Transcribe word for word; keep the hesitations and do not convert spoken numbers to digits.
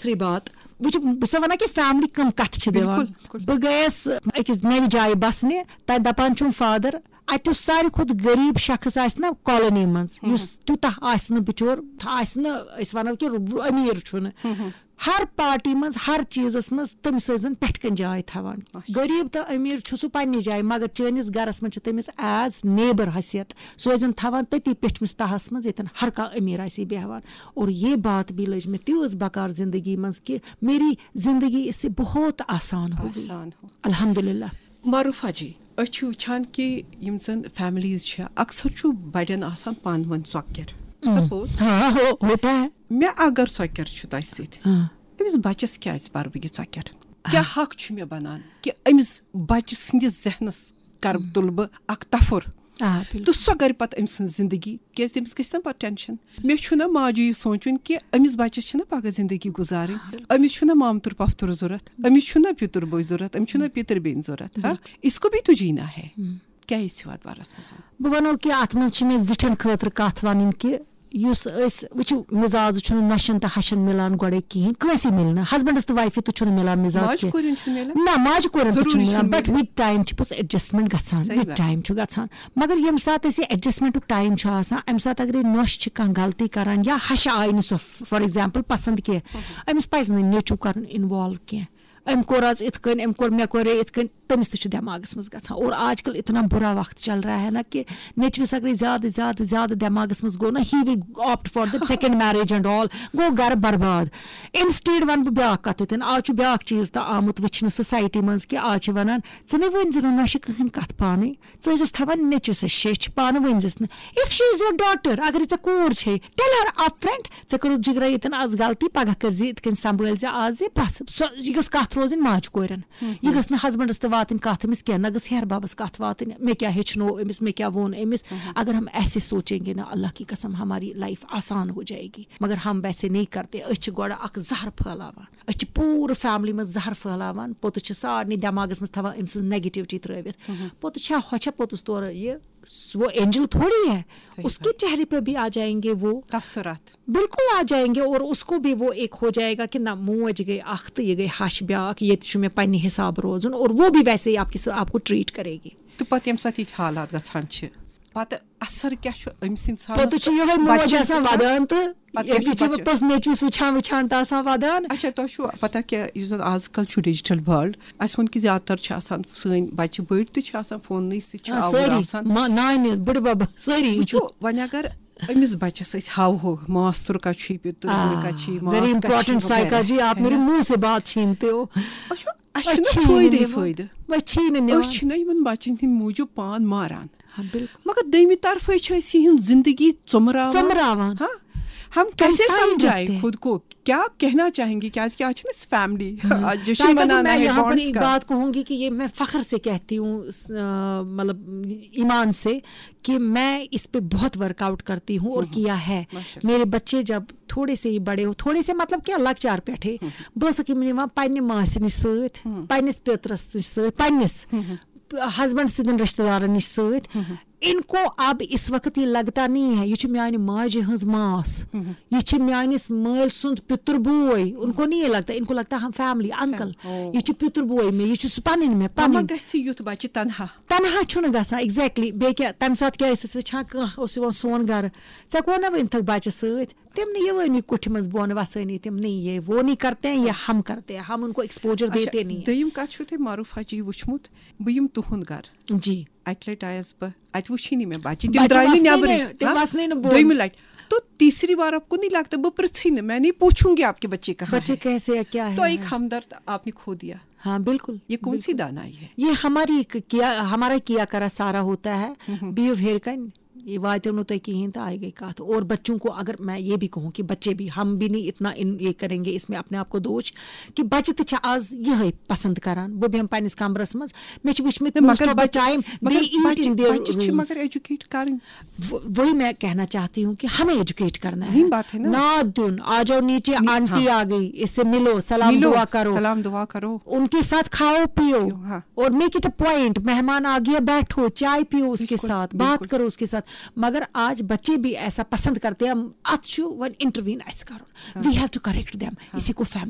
دوسری بات، وٕچھ، بہٕ چھَس وَنان کہِ فیملی کَم کَتھٕ چھِ دِوان۔ بِلکُل، بِلکُل۔ بہٕ گٔیَس أکِس نَوِ جایہِ بَسنہِ، تَتہِ دَپان چھُم فادر، اَتہِ یُس ساروی کھۄتہٕ غریٖب شخص آسہِ نہ کالونی منٛز، یُس تیوٗتاہ آسہِ نہٕ بِچور، آسہِ نہٕ، أسۍ وَنو کہِ امیٖر چھُنہٕ، ہر پارٹی منٛز، ہر چیٖزَس منٛز تٔمِس ٲسۍ زَن پٮ۪ٹھ کَنۍ جاے تھاوان۔ غریٖب تہٕ أمیٖر چھُ سُہ پنٛنہِ جایہِ، مگر چٲنِس گَرَس منٛز چھِ تٔمِس ایز نیبر حیثیت، سُہ ٲسۍ زَن تھاوان تٔتی پیٚٹھمِس تَہَس منٛز، ییٚتٮ۪ن ہر کانٛہہ أمیٖر آسہِ ہے بیٚہوان۔ اور یہ بات بھی لٔج مےٚ تیٖژ بکار زندگی منٛز کہ میری زندگی اس سے بہت آسان ہو گئی۔ آسان ہو۔ الحمدللہ۔ معروفہ جی، أسۍ چھِ وٕچھان کہِ یِم زَن فیملیٖز چھِ، اکثر چھُ بَڑٮ۪ن آسان پانہٕ ؤنۍ ژۄکٮ۪ر۔ سپوز ہاں، ہو-، ہوتا ہے۔ مےٚ اگر ژۄکٮ۪ر چھُ تۄہہِ سۭتۍ، ہاں۔ أمِس بَچَس کیٛازِ پَرٕ بہٕ یہِ ژۄکٮ۪ر؟ کیٛاہ حق چھُ مےٚ بَنان کہِ أمِس بَچہِ سٕنٛدِس ذہنَس کَرٕ تُلہٕ بہٕ اکھ تفُر؟ آ، بِلکُل۔ تہٕ سۄ کَرِ پَتہٕ أمۍ سٕنٛز زِندگی، کیٛازِ تٔمِس گژھِ نہ پَتہٕ ٹٮ۪نشَن۔ مےٚ چھُنہ ماجہِ یہِ سونٛچُن کہِ أمِس بَچَس چھِنہ پَگاہ زِندگی گُزارٕنۍ۔ أمِس چھُنہ مامتُر پۄپھتُر ضوٚرَتھ، أمِس چھُنہ پیٚتُر بوے ضوٚرَتھ، أمِس چھُنہ پیٚتٕر بیٚنہِ ضوٚرَتھ۔ ہا، اس کو بھی تو جینا ہے۔ کیٛاہ یہِ چھِ وَتھ بَرَس منٛز؟ بہٕ وَنو کہِ اَتھ منٛز چھِ مےٚ زِٹھٮ۪ن خٲطرٕ کَتھ وَنٕنۍ کہِ یُس أسۍ وٕچھِو، مِزاز چھُنہٕ نۄشَن تہٕ ہَشَن مِلان گۄڈَے کِہیٖنۍ، کٲنٛسے مِلہِ نہٕ، ہسبنڈَس تہٕ وایفہِ تہِ چھُنہٕ مِلان مِزاز ماجہِ کینٛہہ۔ کورٮ۪ن چھُنہٕ مِلان؟ نہ، ماجہِ کورٮ۪ن تہِ ضروٗری چھُنہٕ مِلان، چھُنہٕ but مِلان۔ with time چھِ پوٚز adjustment گژھان، صحیح with بات۔ time چھُ گژھان۔ مگر ییٚمہِ ساتہٕ اَسہِ یہِ adjustment ٹایم چھُ آسان، اَمہِ ساتہٕ اگرے نۄش چھِ کانٛہہ غلطی کران یا ہَشہِ آیہِ نہٕ سۄ، for example، پسنٛد کینٛہہ، أمِس پزِ نہٕ نیٚچوٗ کرُن involve کینٛہہ۔ أمۍ کوٚر آز یِتھ کٔنۍ، أمۍ کوٚر، مےٚ کوٚرے یِتھ کٔنۍ، تٔمِس تہِ چھُ دٮ۪ماغَس منٛز گژھان۔ اور آج کل اتنا برا وقت چل رہا ہے نا کہ نیٚچوِس اگرے زیادٕ، زیادٕ، زیادٕ دٮ۪ماغَس منٛز گوٚو نا، he will opt for the second marriage and all، گوٚو گرٕ برباد۔ Instead وَنہٕ بہٕ بیٛاکھ کَتھ ییٚتٮ۪ن، آز چھُ بیٛاکھ چیٖز تہٕ آمُت وٕچھنہٕ society منٛز کہ آز چھِ وَنان، ژٕ نَے ؤنۍ زِ نہٕ نۄشہِ کٕہٕنۍ کَتھ پانَے، ژٕ ٲسۍزٮ۪س تھاوان نیٚچوِس سۭتۍ شیٚچھ، پانہٕ ؤنۍ زٮ۪س نہٕ۔ If she is your daughter، اگر یہِ ژےٚ کوٗر چھے، tell her upfront، ژےٚ کٔرٕتھ جِگرا ییٚتٮ۪ن آز غلطی، پگاہ کٔرۍ زِ یِتھ کٔنۍ، سنبھٲلۍ زِ آز یہِ بَس۔ سۄ، یہِ گٔژھ کَتھ روزٕنۍ ماجہِ کورٮ۪ن۔ یہِ گٔژھ نہٕ ہسبنڈس تہِ واتٕنۍ کتھ أمِس کینٛہہ، نہ گٔژھ ہیہر بابس کتھ واتٕنۍ، مےٚ کیٛاہ ہیٚچھنو أمِس، مےٚ کیٛاہ ووٚن أمِس۔ اگر ہم ایسے سوچیں گے نا، اللہ کی قسم، ہماری لائف آسان ہو جائے گی، مگر ہم ویسے نہیں کرتے۔ أسۍ چھِ گۄڈٕ اکھ زہر پھٲلاوان، أسۍ چھِ پوٗرٕ فیملی منٛز زہر پھٲلاوان، پوٚتُس چھِ سارنٕے دٮ۪ماغس منٛز تھاوان أمۍ سٕنٛز negativity ترٲوِتھ۔ پوٚتُس چھا، ہۄ چھا پوٚتُس تورٕ یہِ، وہ اینجل تھوڑی ہے، صحیح اس کے چہرے پہ بھی آ جائیں گے وہ۔ تاثرات۔ بالکل آ جائیں گے اور اس کو بھی وہ ایک ہو جائے گا کہ نہ، موج گٔے اکھ تہٕ یہِ گٔے ہش بیٛاکھ، ییٚتہِ چھُ مےٚ پننہِ حساب روزُن، اور وہ بھی ویسے ہی آپ کے ساتھ، آپ کو ٹریٹ کرے گی۔ تہٕ پتہٕ ییٚمہِ ساتہٕ یِتھۍ حالات گژھان چھِ، پتہٕ اثر کیٛاہ چھُ أمِس انسانس پتہٕ چھُ یِہوٚے موج بچس آسان پٮ۪ٹھ؟ ودان تہٕ پتہٕ کیٛاہ چھُ بیٚیہِ چھِ بچس؟ پوٚز نیٚچوِس وٕچھان وٕچھان تہٕ آسان ودان۔ اچھا، تۄہہِ چھُوا پتہ کہِ یُس زن آز کل چھُ ڈیجیٹل ورلڈ، اسہِ ووٚن کہِ زیادٕ تر چھِ آسان سٲنۍ بچہِ بٔڑۍ تہِ چھِ آسان فوننٕے سۭتۍ، چھِ آ، آوُر سٲری، آسان۔ ما-، نانہِ، بٕڈبب، سٲری۔ وٕچھو، وۄنۍ اگر أمِس بچس أسۍ ہاوہو ماس تُر کتہِ چھُے، پیٚتُر آ، بٕڈٕ کتہِ چھُے، ماس very کتہِ چھُے، important وغیرہ۔ سائیکالجی، آپ میری منہ سے بات چھینتے ہو۔ وٕچھو، اسہِ أسۍ چھُنہ چھِی نہٕ فٲیدے نِوان۔ فٲیدٕ۔ أسۍ چھِی نہٕ نِوان۔ أسۍ چھِنہ یِمن بچن ہٕنٛدۍ موٗجوٗب پان ماران۔ ہاں، بالکل۔ مگر دوٚیمہِ طرفہٕ چھِ أسۍ یِہٕنٛز زندگی ژۄمراوان۔ ژۄمراوان۔ ہاں، ہم کیسے Confined سمجھائیں رکھتے ہیں۔ خود کو، کیا کہنا چاہیں گے، کیازِ کہ آج چھِ نہ أسۍ فیملی، ہاں۔ آج جشن سائیکل جی، منانا میں ہے یہاں پر بانڈز ایک کا۔ بات کہوں گی کہ یہ میں فخر سے کہتی ہوں، اس، آ، مطلب ایمان سے، کہ میں اس پہ بہت ورک آؤٹ کرتی ہوں اور کیا ہے۔ ماشاءاللہ۔ میرے بچے جب تھوڑے سے ہی بڑے ہو، تھوڑے سے مطلب کیا، لۄکچار پٮ۪ٹھے، بہٕ ٲسٕکھ یِم نِوان پننہِ ماسہِ نِش سۭتۍ، پننِس پیترس نِش سۭتۍ، پننِس ہسبینڈ سٕنٛدٮ۪ن رشتہٕ دارن نِش سۭتۍ۔ ان کو اب اس وقت یہ لگتا نہیں ہے، یہ چھُ میانہِ ماجہِ ہٕنٛز ماس، یہ چھُ میٲنِس مٲلۍ سُنٛد پِتُر بوے۔ ان کو نہیں یہ لگتا، ان کو لگتا ہم فیملی، انکل۔ او۔ یہ چھُ پِتُر بوے مےٚ، یہ چھُ سُہ پنٕنۍ مےٚ، ماما پنٕنۍ۔ گژھِ یُتھ بچہِ تنہا۔ تنہا چھُنہٕ گژھان، exactly۔ بیٚیہِ کیٛاہ، تمہِ ساتہٕ کیٛاہ ٲسۍ أسۍ وٕچھان، کانٛہہ اوس یِوان سون گرٕ، ژےٚ کون نہ ؤنۍ تھکھ بچہِ سۭتۍ؟ تِم نہٕ یِوٲنی کُٹھِ منٛز بۄن وسٲنی، تِم نہیں یہ، وہ نہیں کرتے ہیں، یہ ہم کرتے ہیں، ہم ان کو ایکسپوجر اچھا، دیتے نہیں ہیں۔ دوٚیِم کتھ چھُو تۄہہِ معروفہ جی وٕچھمُت، بہٕ یِمہٕ تُہُنٛد گرٕ۔ جی۔ اکہِ لٹہِ آیس بہٕ، اتہِ وٕچھی نہٕ مےٚ بچہِ، تِم بچہِ درٛاے نہٕ وسنٕے نٮ۪برٕے۔ نہٕ، تِم ہاں؟ وسنٕے نہٕ بۄن۔ دوٚیمہِ لٹہِ۔ تو تیسری بار آپ کو نہیں لگتا، بہٕ پرٛژھٕے نہٕ، میں نہیں پوچھوں گی آپ کے بچے کہاں بچے ہیں۔ کیسے ہے، کیا ہے؟ تو ایک ہمدرد آپ نے کھو دیا۔ ہاں، بالکل، یہ کون سی بالکل۔ دانائی ہے؟ یہ ہماری ک-، کیا، ہمارا کیا کرا سارا ہوتا ہے، بِہِو ہیٚرِ کَنۍ، یہِ واتیو نہٕ تۄہہِ کِہیٖنۍ تہٕ آیہِ گٔے کَتھ۔ اور بچوں کو اگر میں یہ بھی کہوں کہ بچے بھی، ہم بھی نہیں اتنا ان-، یہ کریں گے اس میں اپنے آپ کو دوش کہ بچہِ تہِ چھِ آز یِہوٚے پسند کران۔ بہٕ بیٚہمہٕ پننِس کمرس منٛز، مےٚ چھِ وٕچھمٕتۍ most of the time they eat in their rooms۔ مگر ایجوکیٹ کرٕنۍ۔ وہ-، وہی میں کہنا چاہتی ہوں کہ ہمیں ایجوکیٹ کرنا ہے۔ وہی بات ہے نا۔ ناد دیُن، آ جاؤ نیچے، آنٹی آ گئی، اس سے ملو، سلام ملو، دعا کرو۔ سلام دعا کرو۔ ان کے ساتھ کھاؤ پیو ہاں۔ اور make it a point، مہمان آ گیا، بیٹھو، چائے پیو اس کے ساتھ، بات کرو اس کے ساتھ۔ مگر آج بچے بھی ایسا پسند کرتے ہیں، اتھ چھُ وۄنۍ انٹروین اسہِ کرُن۔ We have to correct them۔ اسی کو فیملی